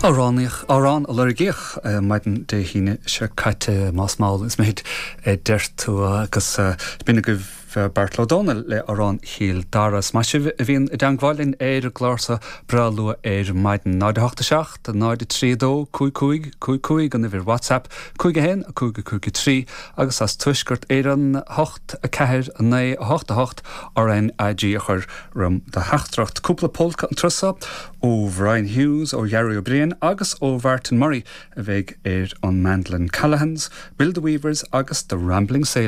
Amhránaíoch, amhrán a lorgaíodh maidin Dé hAoine seo caite, más mall is mithid a deir tú, agus b'in agaibh Beairtle Ó Domhnaill le Amhrán Chill Dara. Is maith sibh a bhíonn i dteangmháil linn ar an gclár seo breá luath ar maidin. 0 8 7 0 3 2 5 5 5 5 an uimhir WhatsApp, 5 1 5 5 3 agus as Tuaisceart Éireann 8 4 9 8 8 RnaG a chur roim do theachtaireacht. Cúpla pólca an turas seo ó Bhrian Hughes, ó Ghearóid Ó Briain agus ó Mhartin Murray a bheidh ar an mandolin, Callaghans, Bill the Weavers agus The Rambling Sailor.